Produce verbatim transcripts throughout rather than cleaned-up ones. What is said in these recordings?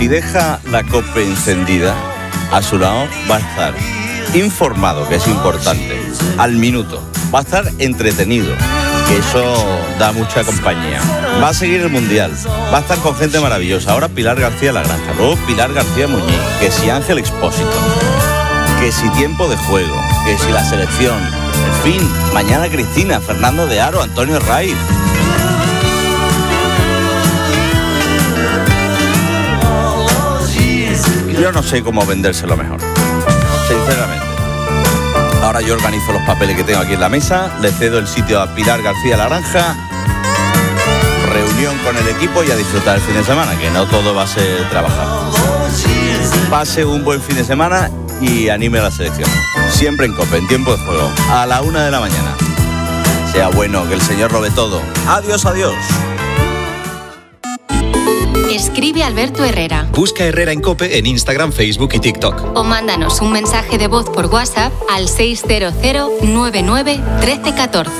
Si deja la COPE encendida, a su lado va a estar informado, que es importante, al minuto. Va a estar entretenido, que eso da mucha compañía. Va a seguir el Mundial, va a estar con gente maravillosa. Ahora Pilar García La Granja, luego Pilar García Muñiz, que si Ángel Expósito, que si tiempo de juego, que si la selección. En fin, mañana Cristina, Fernando de Aro, Antonio Raiz. Yo no sé cómo vendérselo mejor, sinceramente. Ahora yo organizo los papeles que tengo aquí en la mesa, le cedo el sitio a Pilar García La Granja, reunión con el equipo y a disfrutar el fin de semana, que no todo va a ser trabajar. Pase un buen fin de semana y anime a la selección. Siempre en COPE, en tiempo de juego, a la una de la mañana. Sea bueno, que el Señor lo ve todo. Adiós, adiós. Escribe Alberto Herrera. Busca Herrera en COPE en Instagram, Facebook y TikTok. O mándanos un mensaje de voz por WhatsApp al seis cero cero nueve nueve uno tres uno cuatro.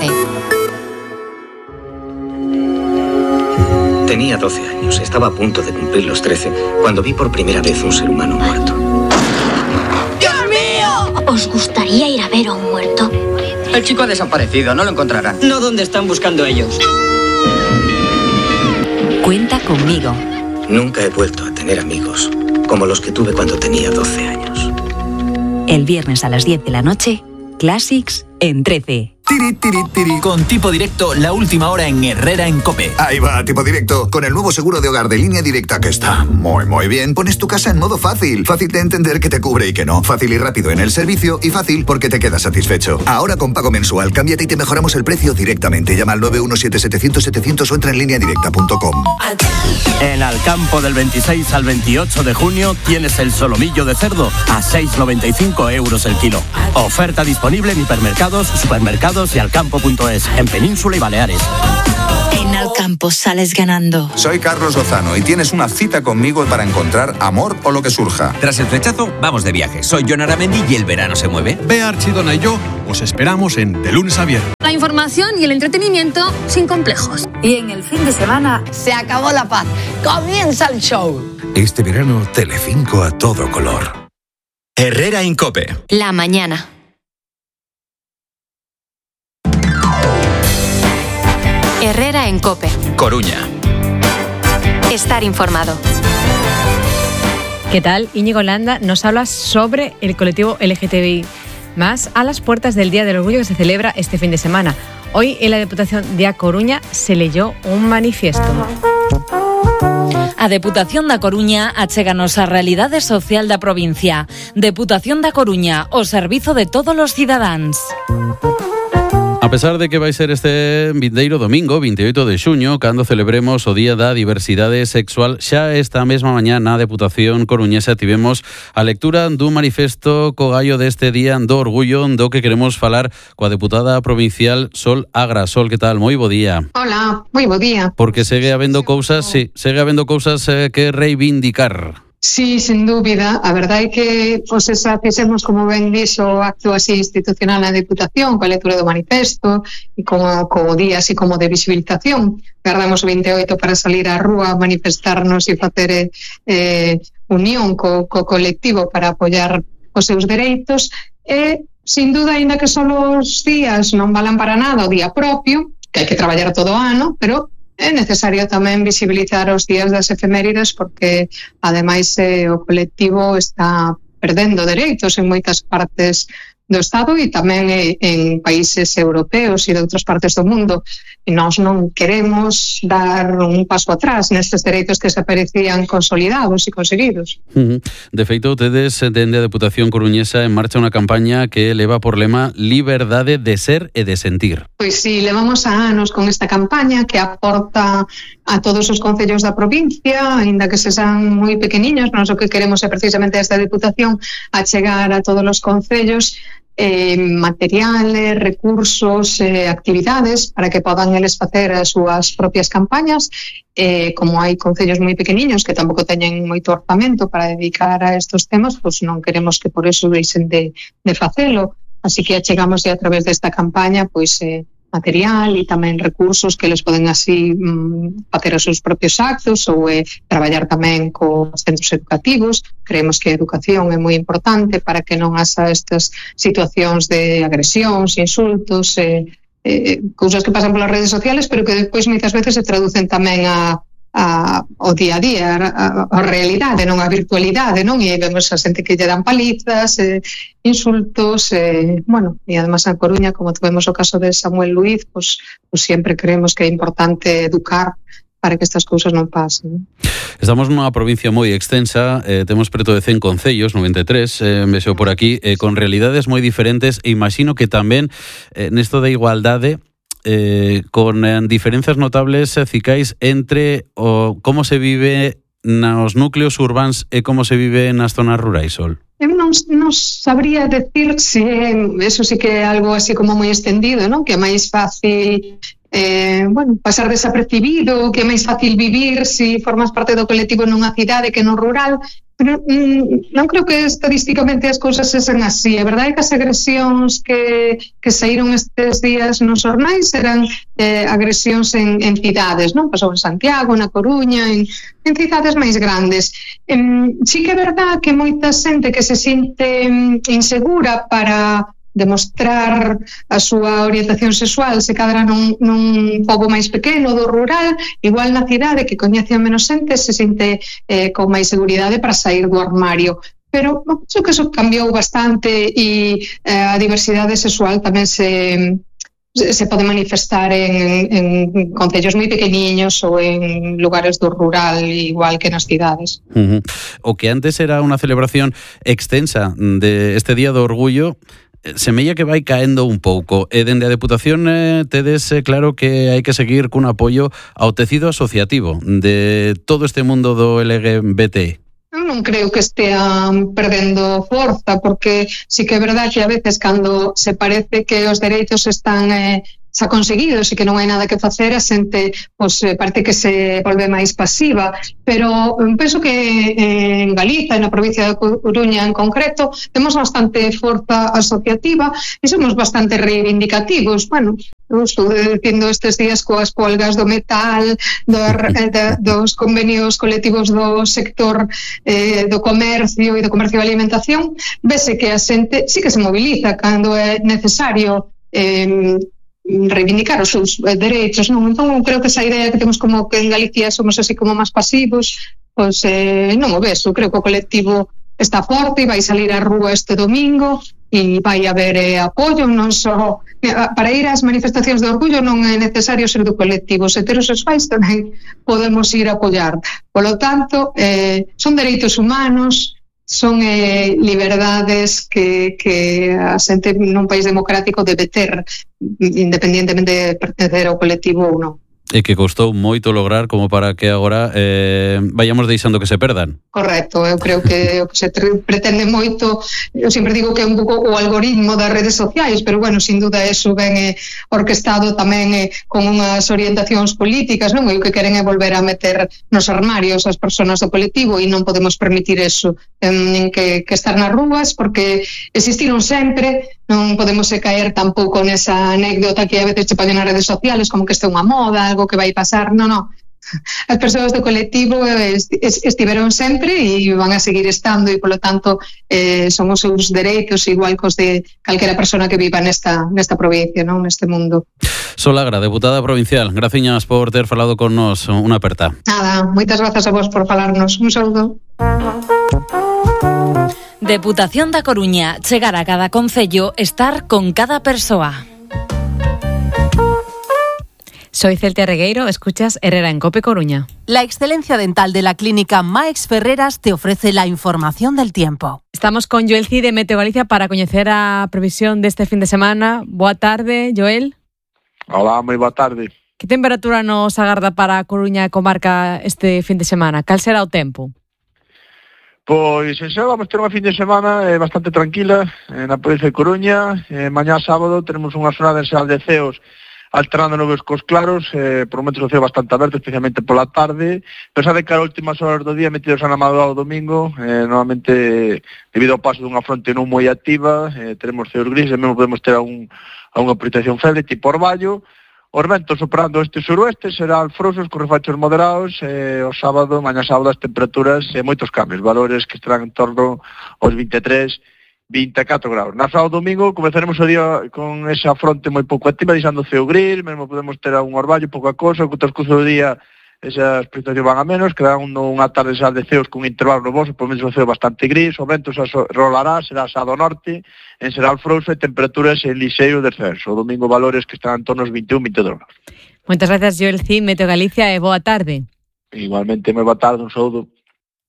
Tenía doce años, estaba a punto de cumplir los trece, cuando vi por primera vez un ser humano muerto. ¡Dios mío! ¿Os gustaría ir a ver a un muerto? El chico ha desaparecido, no lo encontrarán. No donde están buscando ellos. Cuenta conmigo. Nunca he vuelto a tener amigos como los que tuve cuando tenía doce años. El viernes a las diez de la noche, Classics en trece. Tiri, tiri, tiri. Con Tipo Directo, la última hora en Herrera en COPE. Ahí va, Tipo Directo. Con el nuevo seguro de hogar de Línea Directa, que está muy, muy bien. Pones tu casa en modo fácil. Fácil de entender que te cubre y que no. Fácil y rápido en el servicio y fácil porque te quedas satisfecho. Ahora con pago mensual, cámbiate y te mejoramos el precio directamente. Llama al nueve uno siete siete cero cero setecientos o entra en línea directa punto com. En Alcampo del veintiséis al veintiocho de junio tienes el solomillo de cerdo a seis noventa y cinco euros el kilo. Oferta disponible en hipermercados, supermercados y alcampo punto es, en Península y Baleares. En Alcampo sales ganando. Soy Carlos Lozano y tienes una cita conmigo para encontrar amor o lo que surja. Tras el flechazo, vamos de viaje. Soy Jon Aramendi y el verano se mueve. Bea Archidona y yo os esperamos en De Lunes a Viernes. La información y el entretenimiento sin complejos. Y en el fin de semana se acabó la paz. Comienza el show. Este verano, Telecinco a todo color. Herrera en COPE. La mañana. Herrera en COPE. Coruña. Estar informado. ¿Qué tal? Íñigo Landa nos habla sobre el colectivo L G T B I más a las puertas del Día del Orgullo que se celebra este fin de semana. Hoy en la Deputación de A Coruña se leyó un manifiesto. A Deputación da Coruña achéganos a realidade social da provincia. Deputación da Coruña, o servizo de todos os cidadáns. A pesar de que vai ser este vindeiro domingo, veintiocho de xuño, cando celebremos o Día da Diversidade Sexual, xa esta mesma mañá na Deputación coruñesa tivemos a lectura dun manifesto co gallo deste Día do Orgullo, do que queremos falar coa deputada provincial Sol Agra. Sol, que tal? Moi bo día. Hola, moi bo día. Porque segue habendo cousas, sí, segue habendo cousas eh, que reivindicar. Sí, sin dúbida. A verdade é que pois, esa, fixemos, como ben dixo, o acto así institucional na Deputación, coa lectura do manifesto e como, como día así como de visibilización. Guardamos o veintiocho para salir á rúa, manifestarnos e facer eh, unión co, co colectivo para apoiar os seus dereitos. E, sin duda, ainda que só os días non valan para nada o día propio, que hai que traballar todo o ano, pero é necesario tamén visibilizar os días das efemérides porque, ademais, eh, o colectivo está perdendo dereitos en moitas partes do Estado e tamén eh, en países europeos e de outras partes do mundo. E nós non queremos dar un paso atrás nestes dereitos que se parecían consolidados e conseguidos. Uh-huh. De feito, tedes dende a Deputación coruñesa en marcha unha campaña que leva por lema liberdade de ser e de sentir. Pois sí, levamos a anos con esta campaña que aporta a todos os concellos da provincia, aínda que se sean moi pequeniños. Nós o que queremos é precisamente esta Deputación a chegar a todos os concellos eh, materiales, recursos, eh, actividades para que podan eles facer as súas propias campañas. Eh, como hai concellos moi pequeniños que tampouco teñen moito orzamento para dedicar a estos temas, pois non queremos que por eso deixen de, de facelo. Así que achegamos a través desta campaña pois eh, material e tamén recursos que les poden así mm, facer os seus propios actos ou eh, traballar tamén cos centros educativos. Creemos que a educación é moi importante para que non haxa estas situacións de agresións, insultos, eh, eh, cousas que pasan polas redes sociales, pero que depois moitas veces se traducen tamén a A, o día a día, a, a realidade, non a virtualidade, non? E vemos a xente que lle dan palizas, eh, insultos, eh, bueno, e además en Coruña, como tuvemos o caso de Samuel Luiz, pues, pues sempre creemos que é importante educar para que estas cousas non pasen. Estamos nunha provincia moi extensa, eh, temos preto de cen concellos, noventa e tres, eh, vexo por aquí, eh, con realidades moi diferentes, e imagino que tamén eh, nesto da igualdade Eh, con eh, diferenzas notables, eh, cicais, entre o como se vive nos núcleos urbáns e como se vive nas zonas rurais, Sol? Eu non, non sabría decir se eso sí que é algo así como moi extendido, non? Que é máis fácil eh, bueno, pasar desapercibido, que é máis fácil vivir se si formas parte do colectivo nunha cidade que non rural. Pero mm, non creo que estadísticamente as cousas sesen así. A verdade é que as agresións que, que saíron estes días nos xornais eran eh, agresións en, en cidades, non? Pasou en Santiago, na Coruña, en, en cidades máis grandes. Eh, sí que é verdade que moita xente que se sinte insegura para demostrar a súa orientación sexual se cadra nun, nun pobo máis pequeno do rural, igual na cidade que coñece a menos xente se sinte eh, con máis seguridade para sair do armario. Pero penso que eso cambiou bastante e eh, a diversidade sexual tamén se se pode manifestar en, en concellos moi pequeniños ou en lugares do rural igual que nas cidades. Uh-huh. O que antes era unha celebración extensa de este Día do Orgullo semella que vai caendo un pouco. E dende a Deputación eh, tedes eh, claro que hai que seguir cun apoio ao tecido asociativo de todo este mundo do L G B T. Eu non creo que estean perdendo forza, porque sí que é verdade que a veces cando se parece que os dereitos están eh, xa conseguidos e que non hai nada que facer, a xente pues, parece que se volve máis pasiva, pero penso que eh, en Galiza, na provincia de Coruña en concreto, temos bastante forza asociativa e somos bastante reivindicativos. Bueno, eu estou dicindo estes días coas polgas do metal, do, de, dos convenios colectivos do sector eh, do comercio e do comercio de alimentación, vese que a xente sí que se moviliza cando é necesario eh, reivindicar os seus dereitos, non? Entón, creo que esa idea que temos como que en Galicia somos así como máis pasivos, pois eh, non o ves. Eu creo que o colectivo está forte e vai salir á rúa este domingo e vai haber eh, apoio, non só para ir ás manifestacións de orgullo non é necesario ser do colectivo, os heterosexuais tamén podemos ir a apoiar. Polo tanto, eh, son dereitos humanos, son eh, liberdades que, que a xente nun país democrático debe ter, independientemente de pertencer ao colectivo ou non. E que costou moito lograr como para que agora eh, vayamos deixando que se perdan. Correcto, eu creo que o que se pretende moito, eu sempre digo que é un pouco o algoritmo das redes sociais, pero bueno, sin duda eso ven eh, orquestado tamén eh, con unhas orientacións políticas, non? E o que queren é volver a meter nos armarios as persoas do colectivo e non podemos permitir eso, en que, que estar nas rúas, porque existiron sempre, non podemos caer tampouco nesa anécdota que a veces se ponen nas redes sociales como que este é unha moda, algo que vai pasar. Non, non. As persoas do colectivo estiveron sempre e van a seguir estando e, polo tanto, eh, son os seus dereitos igual cos de calquera persona que viva nesta, nesta provincia, non? Neste mundo. Solagra, deputada provincial, graciñas por ter falado con nos. Unha aperta. Nada, moitas grazas a vos por falarnos. Un saúdo. Deputación da Coruña, chegar a cada concello, estar con cada persoa. Soy Celtia Regueiro, escuchas Herrera en COPE Coruña. La excelencia dental de la clínica Max Ferreras te ofrece la información del tiempo. Estamos con Joel Cid de Meteo Galicia para coñecer a previsión deste fin de semana. Boa tarde, Joel. Hola, moi boa tarde. Que temperatura nos agarda para a Coruña e comarca este fin de semana? Cal será o tempo? Pois, en xeral, vamos ter unha fin de semana eh, bastante tranquila eh, na provincia de Coruña. Eh, mañá sábado teremos unha xornada en xeral de ceos alternándonos cos claros, eh, por momentos o ceo bastante aberto, especialmente pola tarde, pensad que as últimas horas do día metidos na madrugada do domingo, eh, normalmente debido ao paso dunha fronte non moi activa, eh, teremos ceos grises, mesmo podemos ter a, un, a unha precipitación feble tipo orvallo. Os ventos soprando este suroeste serán frouxos con refachos moderados, eh, o sábado, mañá sábado, as temperaturas e eh, moitos cambios, valores que estarán en torno aos vinte e tres, vinte e catro graus. Na sábado domingo comezaremos o día con esa fronte moi pouco activa, deixando o ceo gris, mesmo podemos ter un orvallo, pouca cosa, co transcurso do día esas precipitacións van a menos, quedará unha tarde xa de ceos con intervalos nubosos, por menos o ceo bastante gris, o vento xa rolará, será xa do norte, en Seral frouxo e temperaturas en lixeiro descenso. O domingo valores que están en torno aos vinte e un, vinte e dous graus. Moitas gracias, Joel Cid, Meteo Galicia, e boa tarde. Igualmente, moi boa tarde, un saúdo.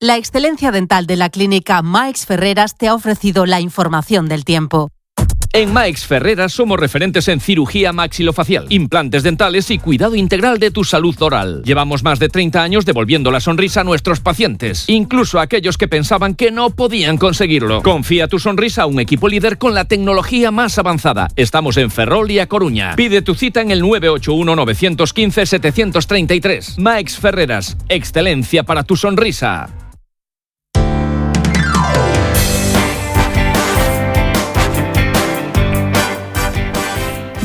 La excelencia dental de la clínica Maix Ferreras te ha ofrecido la información del tiempo. En Maix Ferreras somos referentes en cirugía maxilofacial, implantes dentales y cuidado integral de tu salud oral. Llevamos más de treinta años devolviendo la sonrisa a nuestros pacientes, incluso a aquellos que pensaban que no podían conseguirlo. Confía tu sonrisa a un equipo líder con la tecnología más avanzada. Estamos en Ferrol y A Coruña. Pide tu cita en el nueve ocho uno, nueve uno cinco, siete tres tres. Maix Ferreras, excelencia para tu sonrisa.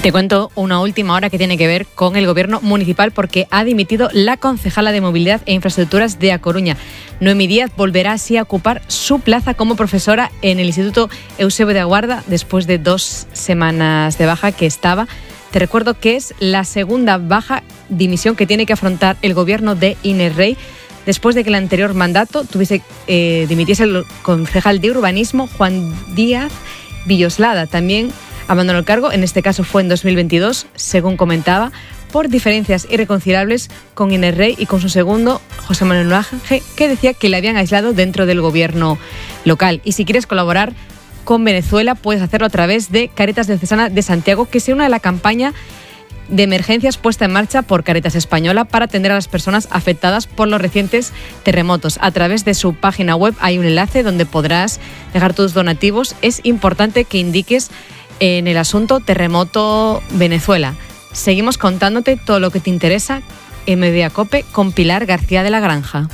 Te cuento una última hora que tiene que ver con el gobierno municipal porque ha dimitido la concejala de Movilidad e Infraestructuras de A Coruña. Noemí Díaz volverá así a ocupar su plaza como profesora en el Instituto Eusebio de Aguarda después de dos semanas de baja que estaba. Te recuerdo que es la segunda baja dimisión que tiene que afrontar el gobierno de Inés Rey después de que el anterior mandato tuviese, eh, dimitiese el concejal de urbanismo Juan Díaz Villoslada. También abandonó el cargo, en este caso fue en dos mil veintidós, según comentaba, por diferencias irreconciliables con Inés Rey y con su segundo, José Manuel Nuaje, que decía que le habían aislado dentro del gobierno local. Y si quieres colaborar con Venezuela, puedes hacerlo a través de Cáritas Diocesana de Santiago, que se une a la campaña de emergencias puesta en marcha por Cáritas Española para atender a las personas afectadas por los recientes terremotos. A través de su página web hay un enlace donde podrás dejar tus donativos. Es importante que indiques en el asunto Terremoto Venezuela. Seguimos contándote todo lo que te interesa en Mediacope con Pilar García de la Granja.